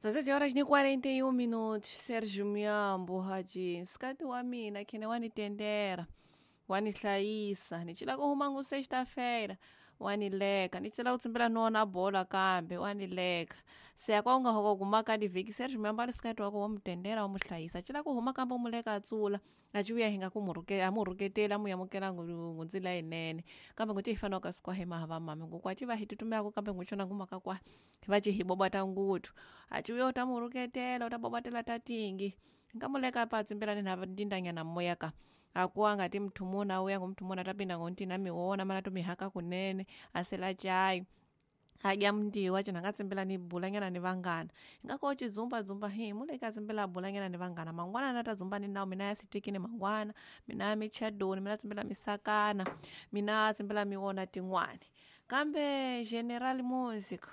16 horas ni 41 minutos. Sérgio Miambo haji nsikati wa mina khene wanitendera wanihlayisa ni cila ku huma ngu sexta-feira wanileka ni cila ku tsimbela ni wona bola kambe wanileka se ya kwa u nga hoko gumaka divhiki Sérgio Miambo ali sikati wako wamutendera wamuhlayisa cila ku huma kambe umuleka a tsula a civuya hi nga ku a mu rhuketeli a mu yamukela ngundzila yinene kambe nguti hi fanele ka sikwa hi mahava mami nguku a ci va hi tutumelaka kambe nguxona ngumaka kwa va ci hi bobata nguthu a civuya u ta mu rhuketela u ta bobatela ta tingi nkamuleka pa tsimbelani na ndindanyana moya ka akuwa ngati mthu muna uya ngumthu muna tapinda ngontina miwona mana tumihaka kunene asela chai adya mndiwa cina ngatsimbela ni bulanyana ni vangana ingako cidzumba dzumba hi muleka tsimbela bulanyana ni vangana mangwana na ta dzumba ni nawo mina ya sitikini mangwana mina ya michadoni mina tsimbela misakana mina tsimbela miwona tin'wani kambe general music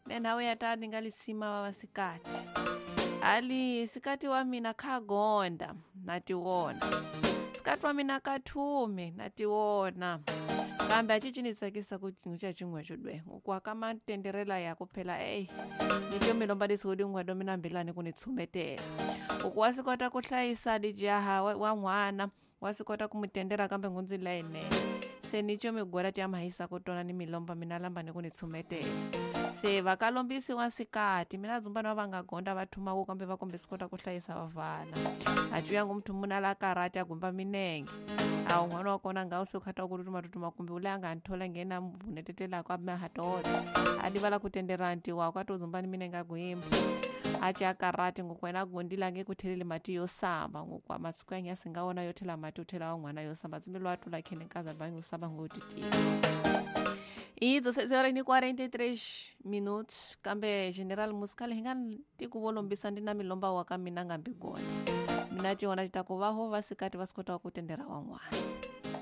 nenhawu ya ta ni nga lisima va vasikati ali sikati wa mina khagonda na tiwona sikati wa mina kathume na tiwona kambe a cici ni tsakisa ku cinca xin'we xo dwe ngoku ka matenderela ya ku phela eyi ni to mi lomba leswi dingwado mina mbilani ku ni tshumetela uku wa swi kota ku hlayisa lijaha wa n'wana wa swi kota ku mu tendera kambe ngundzi leyinene se ni co migwela ti ya mahisa ku tona ni milomba mina lamba ni ku ni tshumetela se va ka lombisi wa nsikati mina dzumbani va va nga gonda va thumaka kambe va kombe swi kota ku hlayisa vavana a cuya ngu muthu muna la karati a gumba minenge a un'wana wa kona nga u se u khata ku tutuma tutuma kumbe u le a nga nthola nghena vunetetelako a mahatota a livala ku tendera ntiwa ka to dzumbani minenge a guimba a ci a karati ngoku wena a gondile nge ku theleli mati yo samba ngoku masiku ya nyasi nga wona yo thela mati u thela wa n'wana yo samba tsimbelo wa tula khene nkaza bangi u samba ngotitisa E 16 horas ni 43 minutos kambe general musical hi nga tiku vo lombisa ndi na milomba wa ka mina nga mbi gona mina tiona ti ta ku va ho va sikati va swi kota ku tendera van'wana.